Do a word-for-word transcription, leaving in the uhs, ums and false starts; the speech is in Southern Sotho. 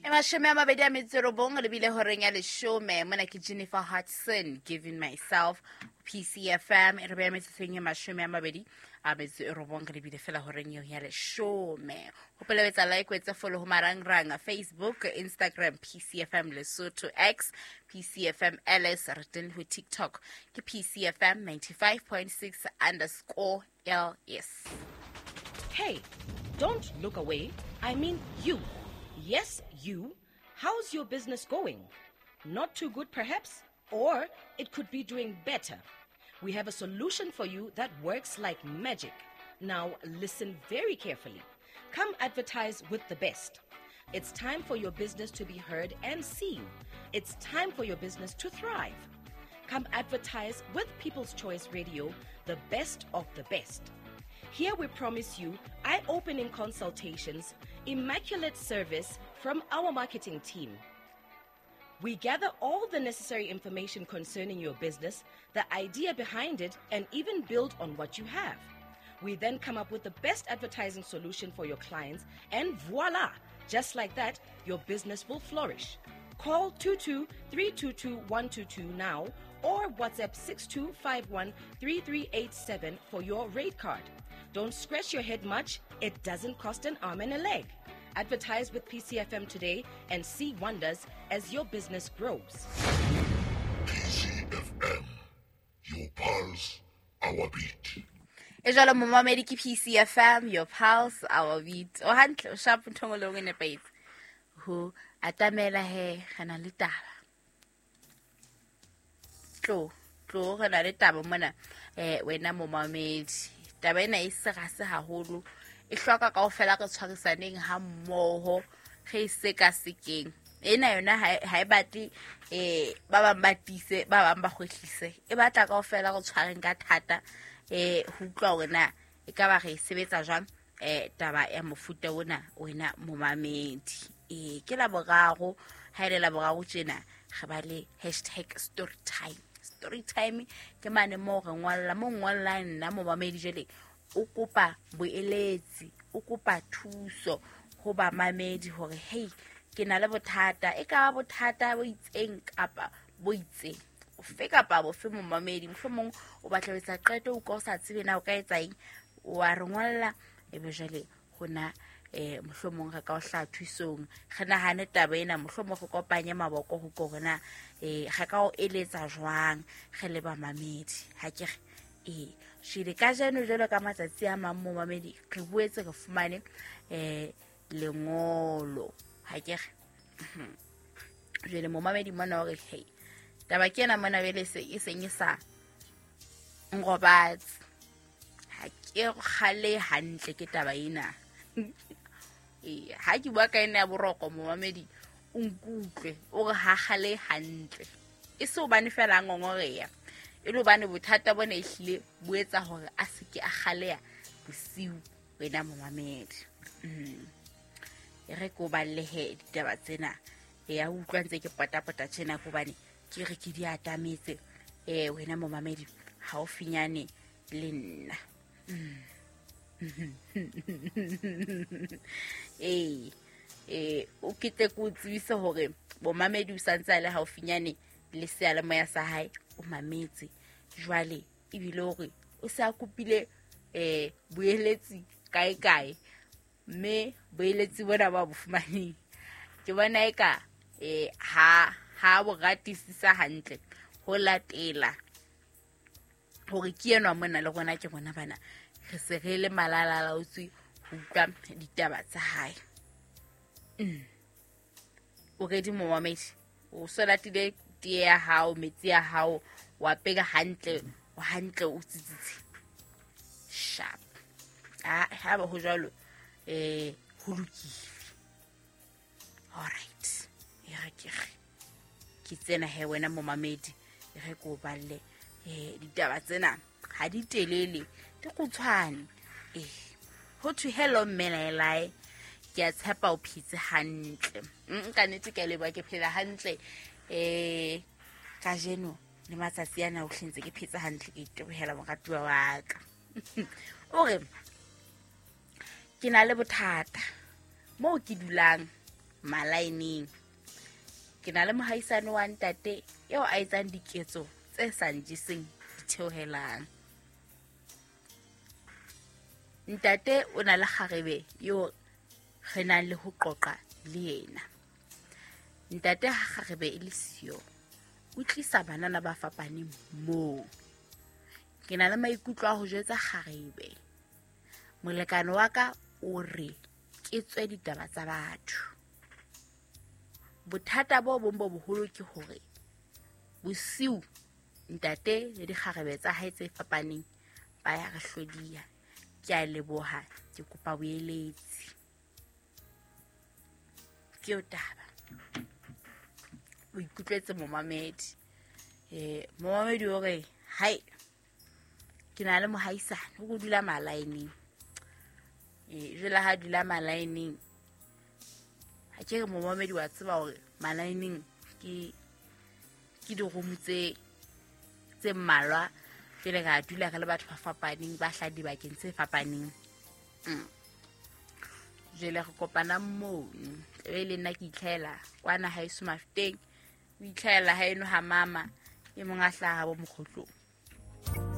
Mashome a mabedi a metso e robong le bile horeng ya leshome. Mona ke Jennifer Hudson, Giving Myself, P C F M. E re beha metsotsong e mashome a mabedi a metso e robong re bile fela horeng eo ya leshome. Hopola ho etsa like, ho etsa follow ho marangrang Facebook, Instagram, P C F M Lesotho, X, P C F M L S, re teng ho TikTok ke P C F M ninety-five point six underscore L S. Hey, don't look away. I mean you. Yes, you. How's your business going? Not too good, perhaps? Or it could be doing better. We have a solution for you that works like magic. Now, listen very carefully. Come advertise with the best. It's time for your business to be heard and seen. It's time for your business to thrive. Come advertise with People's Choice Radio, the best of the best. Here we promise you eye-opening consultations, immaculate service from our marketing team. We gather all the necessary information concerning your business, the idea behind it, and even build on what you have. We then come up with the best advertising solution for your clients, and voila! Just like that, your business will flourish. Call two two three two two one two two now or WhatsApp six two five one three three eight seven for your rate card. Don't scratch your head much. It doesn't cost an arm and a leg. Advertise with P C F M today and see wonders as your business grows. P C F M, your pulse, our beat. E jwalo momamedi ke P C F M, your pulse, our beat. O hantle, o sharp ntho e nngwe le nngwe e nepahetse. Ho atamela he, re na le taba. Tlo, tlo re na le taba mona, eh, wena momamedi. Taba ena e serase haholo, e hloka kaofela re tshwarisaneng ha mmoho, re e sekasekeng. Ena yona ha e, ha e batle, eh, ba bang ba tiise, ba bang ba kgwehlise. E batla kaofela re tshwareng ka thata, eh, ho utlwa hore na e ka ba re e sebetsa jwang, eh, taba ya mofuta ona wena momamedi. Eh, ke Laboraro, ha e le Laboraro tjena, re ba le hashtag story time. Story time ke mane moo re ngwalla, mo ngwallang nna momamedi jwale o kopa boeletsi, o kopa thuso ho bamamedi hore hey, ke na le bothata, e ka ba bothata bo itseng kapa bo itseng. Ofe kapa bofe momamedi, mohlomong o batla ho etsa qeto, o ka o sa tsebe na o ka etsa eng, wa re ngwalla, ebe jwale hona, eh, mohlomong re ka o hlaha thusong, re nahane taba ena, mohlomong re kopanye maboko ho ko hore na, eh, re ka o eletsa jwang re le bamamedi. Ha ke re, eh, shile kajeno jwalo ka matsatsi a mang momamedi, re boetse re fumane, eh, lengolo. Ha ke re, mhm. Jwale momamedi mona o re, hey, taba ke ena mona jwale se e seng e sa nrobatse. Ha ke kgale hantle ke taba ena. Eh, ha ke bua ka ena ya boroko momamedi, o nkutlwe, o re ha kgale hantle. E se hobane fela a ngongoreha, e le hobane bothata bona ehlile bo etsa hore a se ke a kgaleha bosiu wena momamedi. Mm. E re ke o balle he ditaba tsena. E ya utlwa ntse ke potapota tjena hobane ke re ke di atametse, eh, wena momamedi haufinyane le nna. Mm. Eh, eh, o ke tle ke o tsebise hore bomamedi o santse a le haufinyane le seyalemoya sa hae, o mametse jwale ebile hore o se a kopile, eh, boeletsi kae kae, mme boeletsi bona ba bo fumaneng ke bona eka, eh, ha, ha bo ratisisa hantle ho latela hore ke enwa mona le rona ke rona bana re se re le malalalaotswe ho utlwa ditaba tsa hae. Mm. O ready momamedi? O so latile tee ya hao, metsi ya hao, wa peka hantle, o hantle o tsitsitse. Sharp. Ah, ha ba ho jwalo, eh, ho lokile. All right. E re ke re. Ke tsena he wena momamedi, e re ke o balle, eh, ditaba tsena ha di telele, di kgutshwane. Eh, ho thwe hello mme laelae, ke a tshepa o phetse hantle. Mm, ka nnete ke a leboha, ke phela hantle. Eh, kajeno le matsatsi ana o hlentse ke phetse hantle, ke itebohela moratuwa wa ka. O re ke na le bothata moo ke dulang Malaeneng. Ke na le mohaisane wa ntate eo a etsang diketso tse sa njeseng ditheohelang. Ntate o na le kgarebe eo re nang le ho qoqa le yena. Ntate ha kgarebe e le siyo, o tlisa banana ba fapaneng moo. Ke na le maikutlo a ho jwetsa kgarebe. Molekane wa ka o re ke tswe ditaba tsa batho. Bothata bo bong bo boholo ke hore bosiu ntate le dikgarebe tsa hae tse fapaneng ba ya re hlodiya. Ke a leboha, ke kopa boeletsi. Ke eo taba. O ikutlwetse momamedi. Eh, momamedi o re, hai, ke na le mohaisane, o dula malaeneng. Eh, jwale ha dula malaeneng, ha ke re momamedi wa tseba hore malaeneng ke ke diromo tse tse mmalwa, jwale ra dula re le batho ba fapaneng, ba hlaha dibakeng tse fapaneng. Mm. Jwale re kopana mono, tlabe le nna ke itlhahela kwana haeso Mafeteng, o itlhahela haeno ha mama, e mong a hlaha bo mokgotlong.